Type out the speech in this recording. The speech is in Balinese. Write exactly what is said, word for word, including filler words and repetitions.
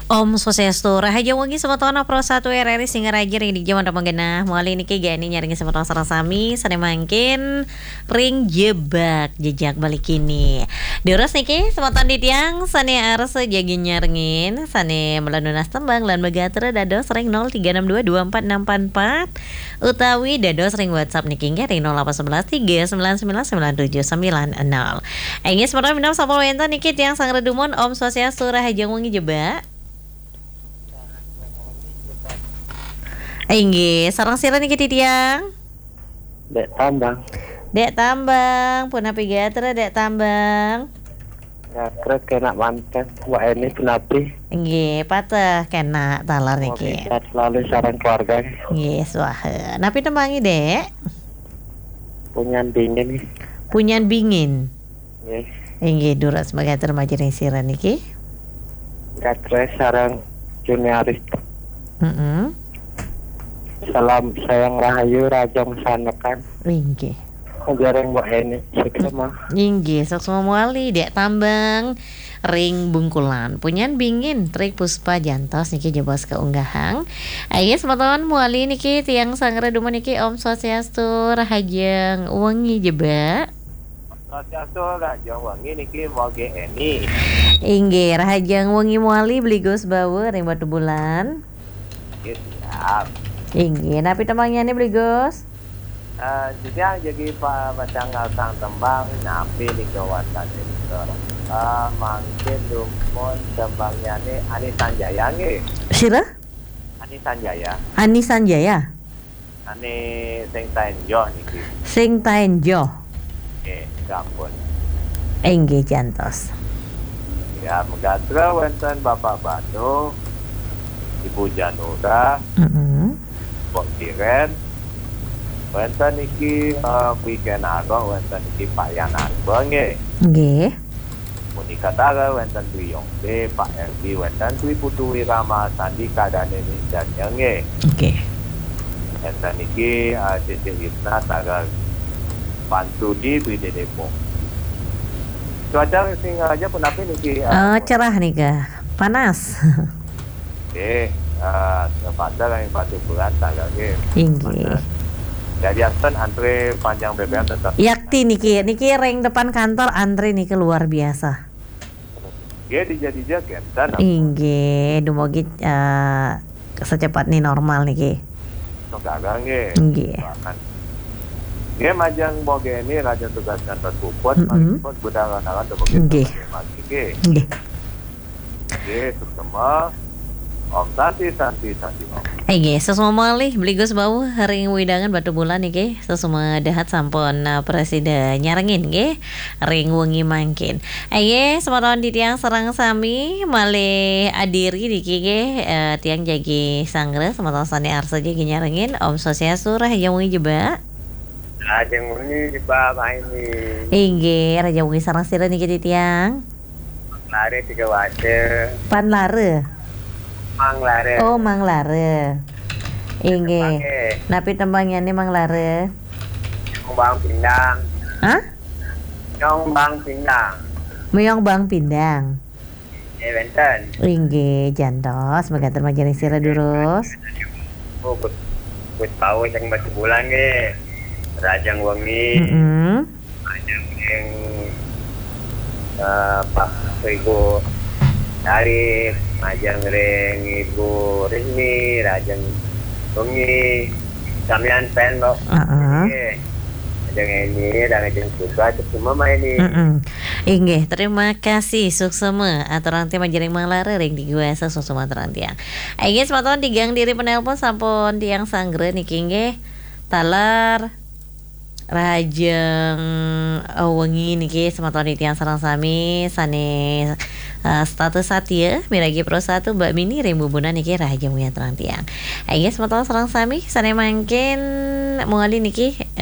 Om Swastiastu, rahajeng wengi semeton Pro satu R R I Singaraja ring dija manten magenah. Malih niki geni nyaring semeton sareng sami sane mangkin ring jebak jejak balik kini. Durus niki semeton titiang sane arsa jagi nyarengin, sane mula nunas tembang lan magatra dados ring nol tiga enam dua dua empat enam empat empat utawi dados ring WhatsApp niki inggih ring nol delapan sebelas tiga sembilan sembilan sembilan tujuh sembilan nol. Inggih semeton minab sampun wenten niki tiang sang redumun, Om Swastiastu, rahajeng wengi jebak. Inggih, sareng sira niki titiang? Dek Tambang. Dek Tambang, punapi gatra Dek Tambang? Gatra kenak manten, Mbak Eni punapi? Inggih, pateh kenak taler niki. Sehat selalu sareng keluarga. Inggih, swaha. Napi tembangi, Dek? Punyan dingin. Punyan bingin. Nggih. Inggih, durus magatra majeng ring sira niki. Gatra sareng Juniaris. Mm-mm. Salam sayang rahayu, rahajeng sanekan. Inggih. Ajaring Mbak Eni, suksma. Inggih, suksma mawali, Dek Tambang ring Bungkulan. Punyan bingin, Tri Puspa jantos niki jebos kaunggahang. Ayo, semeton mawali niki tiang sang redumun niki, Om Swastiastu, rahajeng wengi jebak. Swastiastu, rahajeng wengi niki Mbok Eni. Inggih, rahajeng wengi mawali Bli Gus Bawa ring Batubulan. Nggih, siap. Inggih, napi tembangnyané Bli Gus? Eh, titiang jagi pa-, pacang ngarasang tembang, napi nika wastané nika. Eh, mangkin dumun tembangnyané Ani Sanjaya nggih. Sira? Ani Sanjaya. Ani Sanjaya? Ané sing taén joh niki. Sing taén joh. Nggih, sampun. Inggih, jantos. Ya, magatra wénten Bapak Banu, Ibu Janura, Mm-mm. Mbok Kiren, wénten niki, eh, Pi Kenaro, wénten niki Pak Yan Arba nggih. Nggih. Monika Tara, wénten Dwi Yongde, Pak Erdi, wénten Dwi Putu Wirama, Sandi Kadane Mincanya nggih. Nggih. Wénten niki, eh, Cece Yusna, Tara Pansudi, Dwi Dedepok. Cuaca Singaraja punapi niki, eh, Eh, cerah nika, panas. Nggih, eh, terpaksa kami patuh berat, Tara nggih. Inggih. Panas. Jadi, Aston antre panjang B B M tetap. Yakti niki, niki ring depan kantor antre niki luar biasa. Nggih, dija-dija kénten. Inggih, dumugi, eh, secepat ni normal niki. Sekarang nggih. Nggih. Bahkan. Nggih, majeng Mbok Eni, rahajeng tugas ngantos puput, Mm-mm. malih puput budal ranaran dumugi Nggih. Mbok Eni nggih. Nggih. Nggih, suksma. Om Santi, Santi, Santi, Om. Inggih, suksma malih Bli Gus Bawa ring wewidangan Batubulan niki. Suksma dahat sampun, eh, prasida nyarengin nggih ring wengi mangkin. Inggih, semeton titiang sareng sami malih adiri niki nggih, eh, tiang jagi sanggra, semeton sané arsa jagi nyarengin. Om Swastiastu, rahajeng wengi jebak. Rahajeng wengi jebak, Pak Eni. Inggih, rahajeng wengi sareng sira niki titiang? Lare tiga waca. Pan Lara. Mang Lara. Oh, Mang Lara. Inggih. Tembangé. Napi tembangnyané Mang Lara? Nyong Bang Pindang. Hah? Nyong Bang Pindang. Méong Bang Pindang. Eh, wénten. Inggih, jantos, magatra majeng ring sira durus. Oh, put, put pau sing Batubulan nggih. Rahajeng wengi. Mm-mm. Majeng ring, eh, Pak Ibu Arif, majeng ring Ibu Rini, rahajeng wengi. Samian pen, Mbok. Heeh. Nggih. Majeng Eni, rahajeng suka, terus semua main ini. Mm-mm. Inggih, terima kasih, suksma. Aturang tiang majeng ring Mang Lara ring Digwasa, suksma aturang tiang. Inggih, semeton tigang diri penelpon sampun tiang sanggra niki nggih. Taler. Rahajeng, eh, wengi niki semeton titiang sareng sami sané, eh, setata satia miragi Pro satu, Mbak Mini ring Bubunan niki rahajeng wengi aturang tiang. Inggih semeton sareng sami sané mangkin mawali niki,